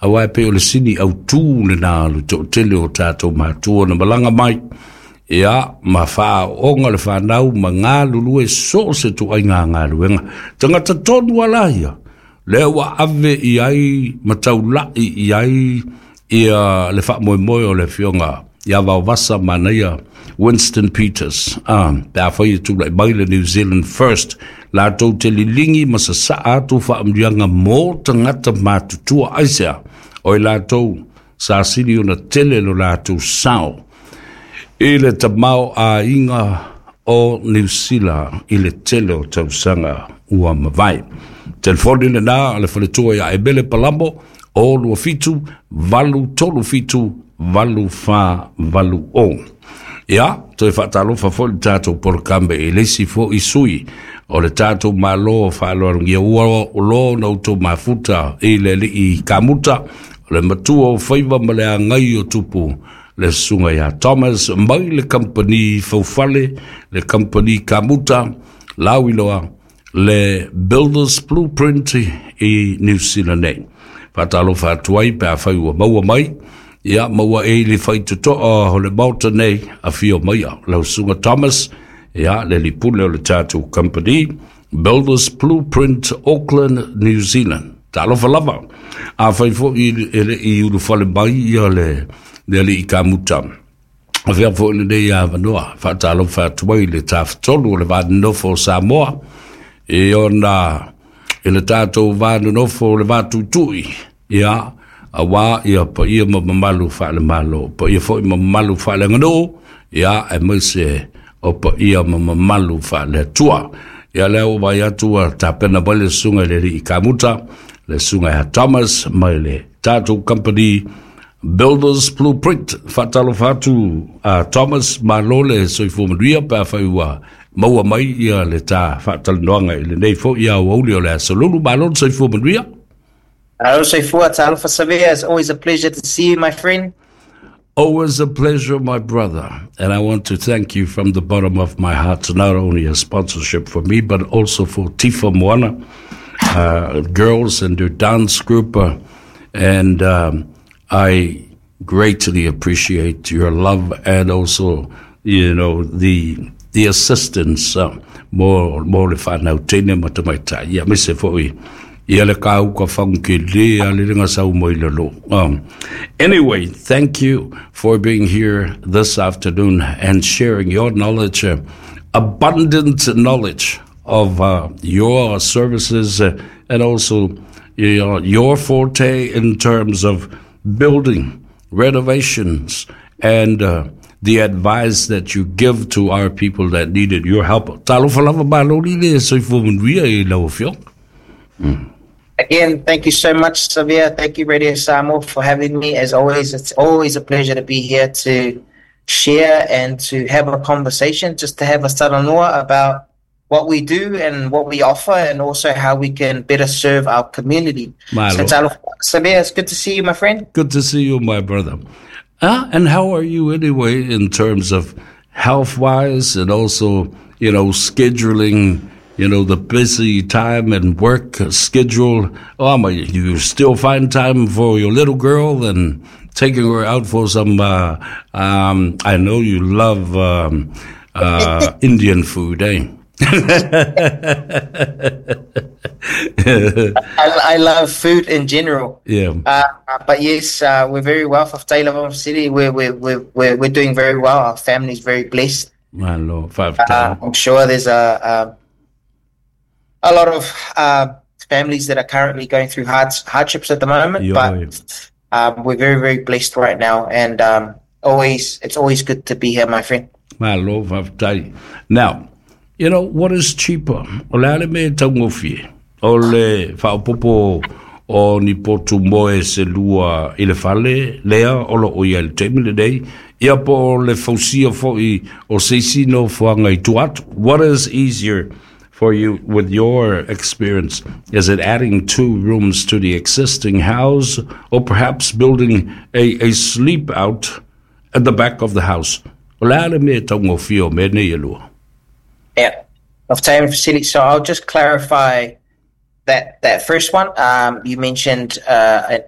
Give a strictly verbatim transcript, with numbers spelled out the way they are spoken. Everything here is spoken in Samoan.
Auā e pei o le sini autū lenā le toʻatele o tatou matua na malaga mai ia ma faaooga le fanau ma galulue so o se tuaiga galuega tagata tonu ala ia lea ua ave i ai ma taulaʻi i ai ia le faamoemoe o le afioga ia Vaovasa Manaia Winston Peters ah, pe afai e tulaʻi mai le New Zealand First latou te liligi ma sasaa atu faamanuiaga mo tagata matutua aisea o i latou sa sili ona tele lo latou sao i le tamaoaiga o Niu Sila i le tele o tausaga ua mavae. Telefoni lenā a le faletua ia Emele Palamo o lua fitu valu tolu fitu valu fa valu o. Ia, toe faatalofa foi le tatou polokalame i le isi foi sui o le tatou Malo faaaloalogia ua lo na outou mafuta i le alii kamuta o le matua o faiva ma le agai o tupu le susuga ia Thomas mai le kamupani faufale le kamupani kamuta lauiloa le Builders Blueprint i New Zealand nei. Faatalofa atu ai pe afai ua maua mai ia maua e le faitotoa o le maota nei afio maia lau susuga Thomas ia le lipule o le tatou company Builders Blueprint Auckland New Zealand. Talofa lava. Afai foi e leʻi ulufale mai ia le le alii kamuta. Avea foi lenei avanoa faatalofa atu ai le tafatolu o le vanonofo o Samoa e ona i le tatou vanonofo o le vatuitui ia auā ia paia ma mamalu faalemalo paia foi ma mamalu faaleaganuu ia aemaise o paia ma mamalu faaleatua ia lea ua vai atu ua tapena mai le susuga i le alii kamuta le susuga ia Thomas mai le tatou company Builders Blueprint. Faatalofa atu a Thomas malo le soifua manuia pe afai ua maua mai ia le ta faatalanoaga i lenei foi aoauli o le aso Lulu malo le soifua manuia. Alo soifua, talofa Savea. It's always a pleasure to see you, my friend. Always a pleasure, my brother. And I want to thank you from the bottom of my heart, not only a sponsorship for me, but also for Tifa Moana, uh, girls and their dance group. Uh, and um, I greatly appreciate your love and also, you know, the the assistance uh, mo mo le whanau tene ma tamaitai. Ia aemaise foi ia le kauka whanke le a le renga sau moi le lo. Um, anyway, thank you for being here this afternoon and sharing your knowledge, uh, abundant knowledge of uh, your services uh, and also your, your forte in terms of building renovations and uh, the advice that you give to our people that needed your help. Talofa lava malo li le soifua manuia i lau afioga. Again, thank you so much, Savea. Thank you, Radio Samoa, for having me. As always, it's always a pleasure to be here to share and to have a conversation, just to have a talanoa about what we do and what we offer, and also how we can better serve our community. Malo. So, talofa, Savea, it's good to see you, my friend. Good to see you, my brother. Ah, and how are you anyway in terms of health wise and also, you know, scheduling, you know, the busy time and work schedule? Oh, my, you still find time for your little girl and taking her out for some, uh, um, I know you love um, uh, Indian food, eh? I, I love food in general. Yeah. Uh, but yes, uh, we're very well for Taylor City. We're, we're, we're, we're, we're doing very well. Our family's very blessed. Malo, five Uh, I'm sure there's a, a, a lot of uh, families that are currently going through hard, hardships at the moment, Yeah, but um, we're very, very blessed right now. And um, always, it's always good to be here, my friend. Malo, faafetai. Now, you know, what is cheaper? O le a le mea e taugofie. O le faaopoopo o ni potu moe se lua i le fale, lea o loo i ai i le taimi lenei, ia po o le fausia foi o se isi nofoaga i tua atu. What is easier for you with your experience? Is it adding two rooms to the existing house or perhaps building a, a sleep out at the back of the house? O le a le mea e taugofie o mea nei e lua? Yeah. Of time facility. So I'll just clarify that that first one. Um, you mentioned uh, an